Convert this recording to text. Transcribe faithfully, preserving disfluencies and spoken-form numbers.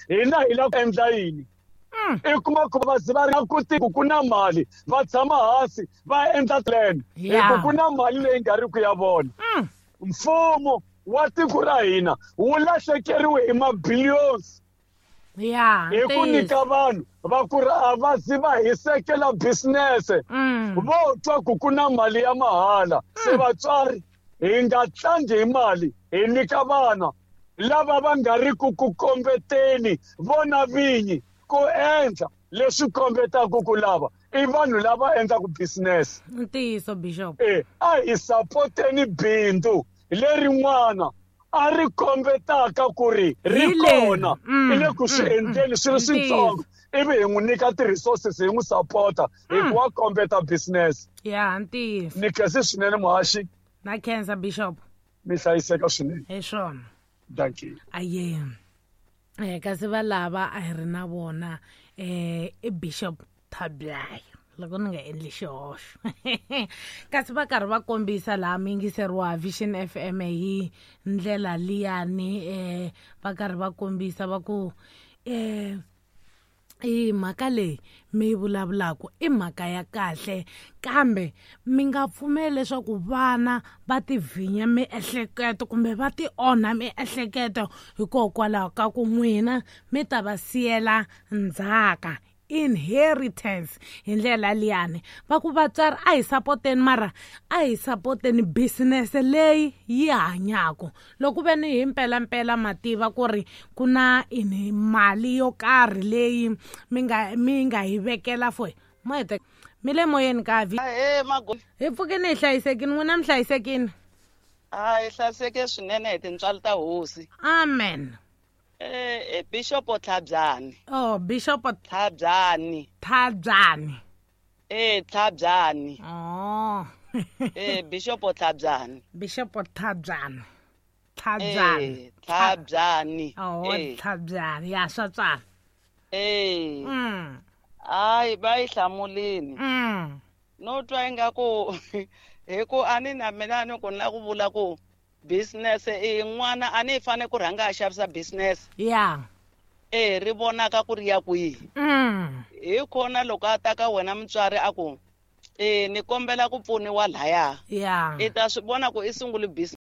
Hina hi lava ku endla yini? I kuma ku va ze va ri na ku ku ku na mali, va tshama hansi va endla plan hi ku ku na mali leyi nga ri ku ya vona. Mfumo wa tiko ra hina wu lahlekeriwe hi ma-billions ya hi ku nyika vanhu va ku ri a va zi va hisekela business. Vo twa ku ku na mali ya mahala. Se vatswari hi nga tlangi hi mali, hi nyika vana lava va nga ri ku ku kombeteni vona vinyi ku endla leswi kombetaka ku lava i vanhu lava endlaka business. Ntiyiso, Bishop. Eh, a hi sapoteni bindzu lerin'wana a ri kombetaka ku ri ri kona, i le ku swi endleni swi ri switsongo, ivi hi n'wi nyika ti-resources, hi n'wi sapota hi ku wa kombeta business. Ya, ntiyiso. Ni khense swinene, muhaxi. Na khensa, Bishop. Mi hlayiseka swinene. Hi swona. Thank you. Aye. Eh, kasi va lava a hi ri na vona, eh, i Bishop Thablayo, loko ni nga endli xihoxo. Kasi va karhi va kombisa laha muyingiseri wa Vision F M hi ndlela liyani, eh, va karhi va kombisa va ku, eh, i mhaka leyi mi yi vulavulaka i mhaka ya kahle, kambe mi nga pfumeli leswaku vana va ti vhinya miehleketo kumbe va ti onha miehleketo hikokwalaho ka ku n'wina mi ta va siyela ndzhaka, inheritance. Hi ndlela liyani va ku vatswari a hi sapoteni, mara a hi sapoteni business leyi yi hanyaka. Loko ve ni hi mpelampela ma tiva ku ri ku na ini mali yo karhi leyi mi nga mi nga yi vekela for mo hete mi le moyeni ka vi. Ahee, mago. Hi pfukini, hi hlayisekini. N'wina mi hlayisekini? A hi hlayiseke swinene hi tintswalo ta hosi. Amen. Eh, i Bishop Tlhabyani. Oh, Bishop Tlhabyani. Tlhabyani. Eh, Tlhabyani. Oh. Eh, Bishop Tlhabyani. Bishop Tlhabyani. Tlhabyani. Eh, Tlhabyani. Oh, Eh. Tlhabyani. Ya, swa tswala. Eh. Mm. Hayi, va yi hlamulini. Mm. No twa ingaku hi ku a ni na mina ni ku na ku vula ku business i n'wana a ni fane ku rhanga a xavisa business. Ya. Eh, ri vonaka ku ri ya kwihi. Mm. Hi kona loko a ta ka wena mutswari a ku, eh, ni kombela ku pfuniwa laya. Ya. I ta swi vona ku i sungule business.